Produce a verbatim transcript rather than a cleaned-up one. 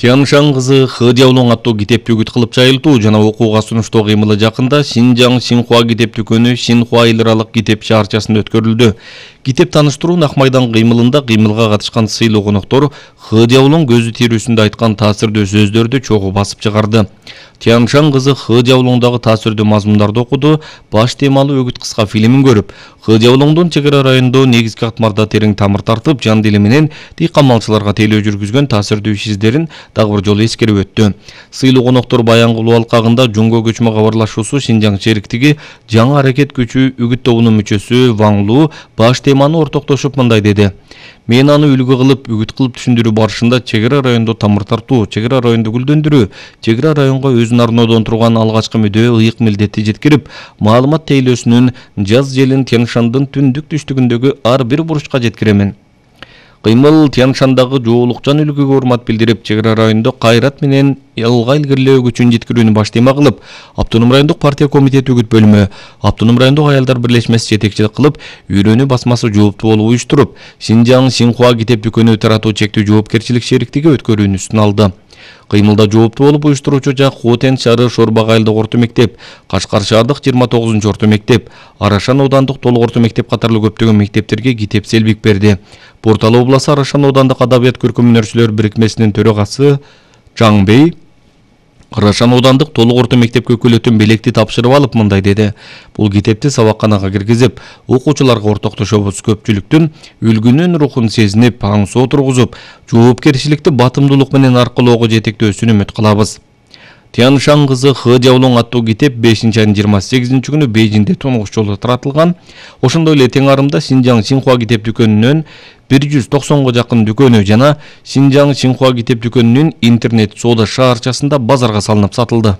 Тяншан кызы Хы Жаолong аттуу китепти үгүт кылып жайылтуу жана окууга сунуштоо кыймылы жакында Шинжаң Синхуа китеп дүкөнү Синхуа эл аралык китеп шаарчасында өткөрүлдү. Китеп тааныштыруу Ак майдан кыймылында кыймылга катышкан сыйлуу коноктор Хы Жаолong көзү тирүүсүндө айткан таасирдүү сөздөрдү чогуу басып чыгарды. Тяншан кызы Хы Жаолongдагы таасирдүү мазмундарды окуду, баш темалуу үгүт кыска фильмин көрүп, Хы Жаолongдун чек ара районунда негизги катмарда терең тамыр тартып, жан дили менен дыйкан-малчыларга тейлөө жүргүзгөн таасирдүү иш издерин дагы бир жолу эскерип өттү. Сыйлуу коноктор Баянгулуу алкагында Жунго көчмө кабарлашуусу Шинжаң шериктиги жаңы аракет күчү үгүт тобунун мүчөсү Ван Лу баш теманы ортоктошуп мындай деди: "Мен аны үлгү кылып, үгүт кылып түшүндүрүү барышында чек ара райондо тамыр тартуу, чек ара районду гүлдөндүрүү, чек ара районго өзүн арноодон турган алгачкы мүдөө ыйык милдетти жеткирип, маалымат тейлөөсүнүн жаз желин Тяншандын түндүк түштүгүндөгү ар бир буручка жеткиремен. Кыймыл Тяншандагы жоолукчан үлгүгө урмат билдирип, чек ара райондо кайрат менен алга илгерилөө күчүн жеткирүүнү баш тема кылып, Автоном райондук партия комитети үгүт бөлүмү, Автоном райондук аялдар бирлешмеси жетекчилик кылып, үйрөнүү басмасы жооптуу болуп уюштуруп, Шинжаң Синхуа китеп дүкөнү таратуу чектүү жоопкерчилик шериктиги өткөрүүнүсүн алды. Кыймылда жооптуу болуп уюштуруучу жак Хотен шаары Шорбак айылдык орто мектеп, Кашкар шаардык жыйырма тогузунчу орто мектеп, Арашан оодандык толук орто мектеп катарлуу көптөгөн мектептерге китеп селбик берди. Портал обласы Арашан оодандык адабият көркөм өнөрчүлөр бирикмесинин төрагасы Жаңбей Арашан оодандык толук орто мектепке өкүлөтүн белекти тапшырып алып мындай деди: "Бул китепти сабакканага киргизип, окуучуларга ортоктошобуз. Көпчүлүктүн үлгүнүн рухун сезинип, аңсоо тургузуп, жоопкерчиликти батымдуулук менен аркылоого жетектөөсүн үмүт кылабыз." Тяншан кызы Хы Жаолong аттуу китеп бешинчи айдын жыйырма сегизинчи күнү Бейжиңде тунгуч жолу таратылган. Ошондой эле тең арымда Шинжаң Синхуа китеп дүкөнүнөн бир жүз токсонго жакын дүкөнү жана Шинжаң Синхуа китеп дүкөнүнүн интернет соода шаарчасында базарга салынып сатылды.